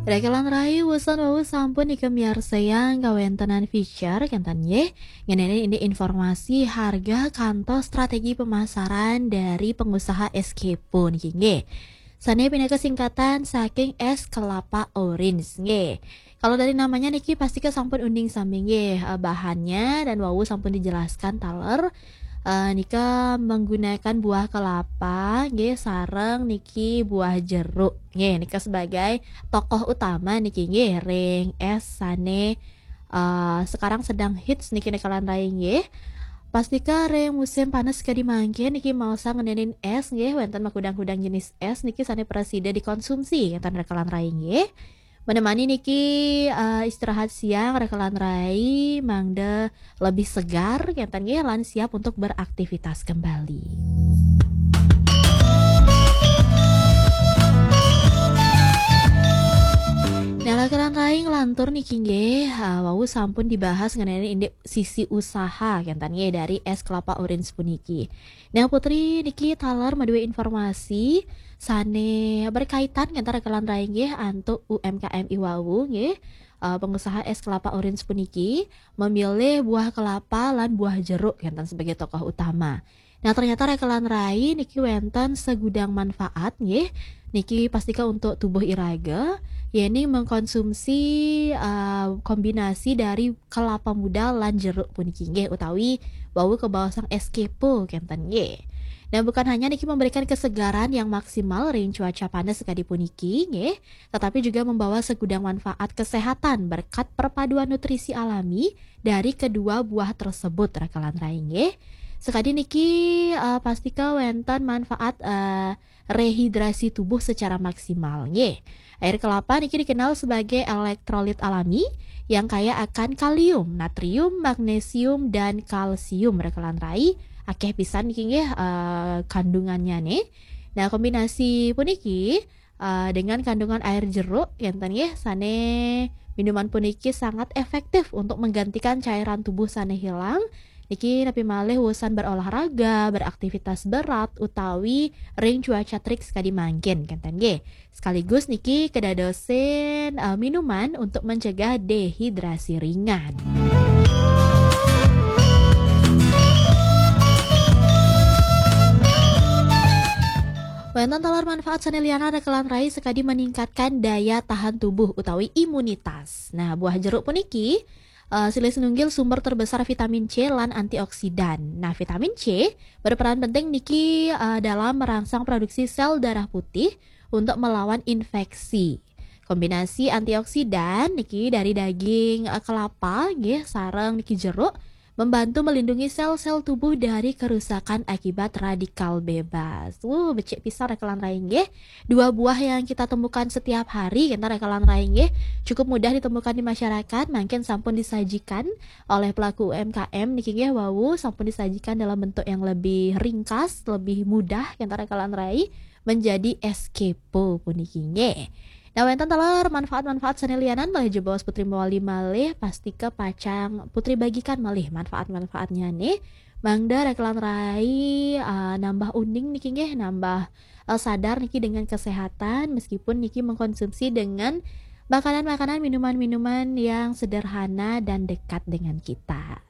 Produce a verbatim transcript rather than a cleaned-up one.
Rekelan rai, usan wau sampun nika miarsayang kawéntenan feature kénten nggih. Ngenani ini informasi harga kantos strategi pemasaran dari pengusaha es kepo niki nggih. Sané pinaka singkatan saking es kelapa orange nggih. Kalau dari namanya niki pasti ke sampun uning sami nggih, eh, bahannya dan wau sampun dijelaskan taler. Eh, nika menggunakan buah kelapa nggih sareng niki buah jeruk. Nggih, nika sebagai tokoh utama niki nggih ring es sané, eh, sekarang sedang hits niki rekelan rai nggih. Pastika ring musim panas kadi mangkin niki maosang ngenénin es nggih, wénten makudang-kudang jenis es niki sané prasida dikonsumsi kénten rekelan rai nggih. Menemani niki, eh, istirahat siang rekelan rai mangda lebih segar kénten nggih lan siap untuk beraktivitas kembali. Nah, rekelan rai nglantur niki nggih, eh, wau sampun dibahas ngenani indik sisi usaha kénten nggih dari es kelapa orange puniki. Nah, Putri niki taler madué informasi sané berkaitan kénten rekelan rai nggih antuk U M K M iwau nggih. Eh, pengusaha es kelapa orange puniki memilih buah kelapa lan buah jeruk kénten sebagai tokoh utama. Nah, ternyata rekelan rai niki wénten segudang manfaat nggih. Niki pastika untuk tubuh iraga, yéning mengkonsumsi, eh, kombinasi dari kelapa muda lan jeruk puniki nggih, utawi wau kabaosang es kepo kénten nggih. Nah, bukan hanya niki memberikan kesegaran yang maksimal ring cuaca panas sekadi puniki nggih, tetapi juga membawa segudang manfaat kesehatan berkat perpaduan nutrisi alami dari kedua buah tersebut rekelan rai nggih. Sekadi niki, eh, pastika wénten manfaat, eh, rehidrasi tubuh secara maksimal nggih. Air kelapa niki dikenal sebagai elektrolit alami yang kaya akan kalium, natrium, magnesium, dan kalsium rekelan rai. Akeh pisan niki nggih, eh, kandungannya nih. Nah, kombinasi puniki, eh, dengan kandungan air jeruk kénten nggih sané minuman puniki sangat efektif untuk menggantikan cairan tubuh sané hilang. Niki napi malih usan berolahraga, beraktivitas berat, utawi ring cuaca terik sekadi mangkin kénten nggih. Sekaligus niki kedadosin, eh, minuman untuk mencegah dehidrasi ringan. Wénten taler manfaat sané lianan rekelan rai sekadi meningkatkan daya tahan tubuh utawi imunitas. Nah, buah jeruk puniki, eh, silih sinunggil sumber terbesar vitamin C lan antioksidan. Nah, vitamin C berperan penting niki, eh, dalam merangsang produksi sel darah putih untuk melawan infeksi. Kombinasi antioksidan niki dari daging, eh, kelapa nggih sareng niki jeruk membantu melindungi sel-sel tubuh dari kerusakan akibat radikal bebas. Wuh, becik pisan rekelan rai nggih. Dua buah yang kita temukan setiap hari, kénten rekelan rai nggih, cukup mudah ditemukan di masyarakat, mangkin sampun disajikan oleh pelaku U M K M niki nggih wau, sampun disajikan dalam bentuk yang lebih ringkas, lebih mudah, kénten rekelan rai, menjadi es kepo puniki nggih. Nah, wénten taler manfaat-manfaat sané lianan malih jebos Putri mawali malih, pastika pacang Putri bagikan malih manfaat-manfaatnya nih. Mangda rekelan rai, eh, nambah uning niki nggih, nambah, eh, sadar niki dengan kesehatan meskipun niki mengkonsumsi dengan makanan-makanan, minuman-minuman yang sederhana dan dekat dengan kita.